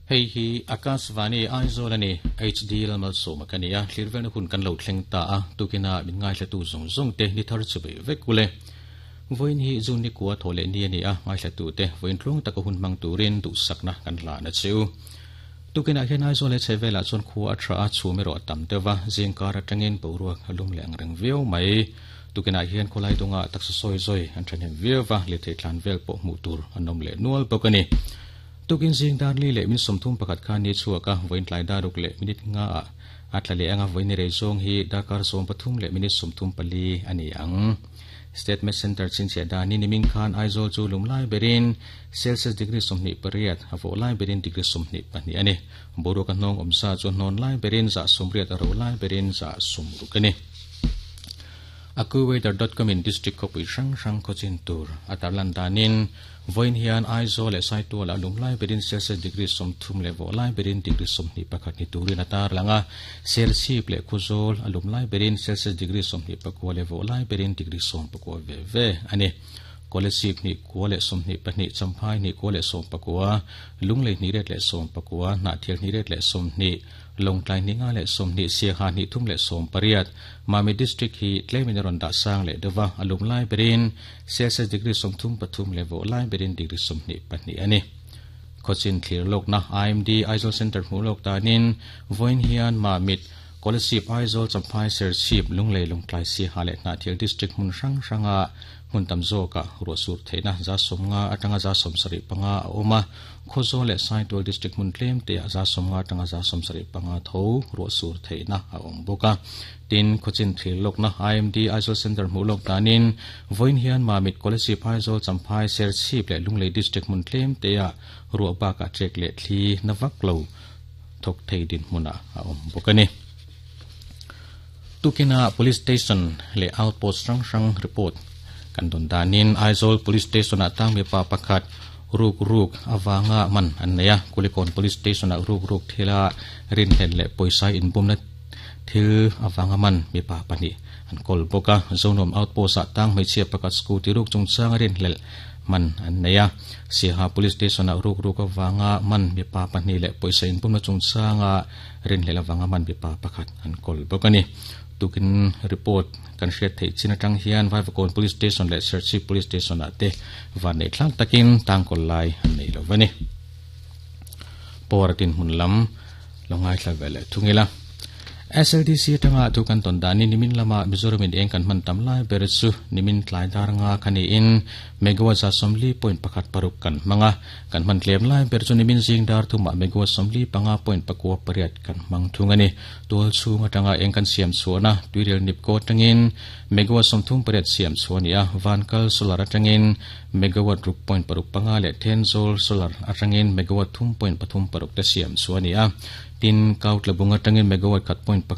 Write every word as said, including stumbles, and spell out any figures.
Hei hi Akashvani Aizawl ani H D Lalmalsawma ka ni a, thlirvelna hun kan lo thleng ta a, tukina min ngaithla tu zawng zawng te ni thar chu bei vek ule. Vawiin hi June ni kua thaw leh ni a ni a, ngaithla tu te vawiin tluang taka hun hmang turin duhsakna kan hlan a cheu. Tukinah hian Aizawl leh chhehvelah chuan khua a tha a, chhum erawh a tam deuh a, zingkar atangin boruak a lum leh ang reng viau mai. Tukinah hian khawlai dungah taksa sawi zawi an thahnem viau va, lirthei tlan vel pawh hmuh tur an awm leh nual bawk a ni. Tukin zing dar li leh min sawmthum pakhat khan ni chhuak a, vawiin tlai dar ruk leh minute nga ah a tla leh ang a, vawiin ni rei zawng hi darkar sawm pathum leh minute sawmthum pali a ni ang. State Met Centre chhinchhiah danin nimin khan Aizawl chu lum lai berin Celsius degree sawmhnih pariat, a vawh lai berin degree sawmhnih pahnih a ni. Boruak a hnawng awmsa chu hnawn lai berin zah sawmriat, a ro lai berin zah sawmruk a ni. AccuWeather dot com in district khawpui hrang hrang khawchin tur a tarlan danin vawiin hian Aizawl leh Saitualah lum lai berin Celsius degree sawmthum leh vawh lai berin degree sawmhnih pakhat ni turin a tarlang a, Serchhip leh Khawzawl a lum lai berin Celsius degree sawmhnih pakua leh vawh lai berin degree sawm pakua ve ve a ni. Kolasib hnih kua leh sawmhnih pahnih, Champhai hnih kua leh sawm pakua, Lunglei hnih ret leh sawm pakua, Hnahthial hnih ret leh sawmhnih, Lawngtlai hnih nga leh sawmhnih, Siaha hnih thum leh sawm pariat. Mami District hi tlemin a rawn dah sang leh deuh a, a lum lai berin Celsius degree sawmthum pathum leh vawh lai berin degree sawmhnih pahnih a ni. Khawchin thlir lawkna I M D Aizawl Centre hmuh lawk danin vawiin hian Mamit, Kolasib, Aizawl, Champhai, Serchhip, Lunglei, Lawngtlai, Siaha leh Hnahthial District hmun hrang hranga hmun tam zawkah ruah sur theihna za sawmnga atanga za sawmsarih panga a awm a, Khawzawl leh Saitual District hmun tlem te ah za sawmnga atanga za sawmsarih panga tho ruah sur theihna a awm bawk a. Tin, khawchin thlir lawkna I M D Aizawl Centre hmuh lawk danin vawiin hian Mamit, Kolasib, Aizawl, Champhai, Serchhip leh Lunglei District hmun tlem te ah ruah bakah ṭek leh thli na vak lo thawk thei dinhmunah a awm bawk a ni. Tukina Police Station leh Outpost hrang hrang report kan dawn danin Aizawl Police Station-ah tang mipa pakhat ruk ruk avanga man an nei a, Kulikawn Police Station-ah ruk ruk thila rinhlelh leh pawisa inbumna thil avanga man mipa pahnih an kawl bawk a, Zonuam Outpost-ah tang hmeichhia pakhat scooty ruk chungchanga rinhlelh man an nei a, Siaha Police Station-ah ruk ruk avanga man mipa pahnih leh pawisa inbumna chungchanga rinhlelh avanga man mipa pakhat an kawl bawk a ni. Tukin report kan hriat theih chin atang hian Vaivakawn Police Station leh Serchhip Police Station-ah te van neih thlak takin tangkawl lai an nei lo va ni. Power dinhmun lam lo ngaithla ve leh thung ila. S L D C atanga thu kan tawn danin nimin lama Mizoram in eng kan hman tam lai ber chu nimin tlai dar nga kha niin megawatt za sawmli point pakhat paruk kan hmang a, kan hman tlem lai ber chu nimin zing dar thumah megawatt sawmli panga point pakua pariat kan hmang thung a ni. Tual chhung atanga eng kan siam chhuahna tuirel nipko atangin megawatt sawmthum pariat siam chhuah a ni a, Vankal solar atangin megawatt ruk point paruk panga leh Thenzawl solar atangin megawatt thum point pathum paruk te siam chhuah a ni a. Tin, Kautlabung atangin megawatt khat point pakhat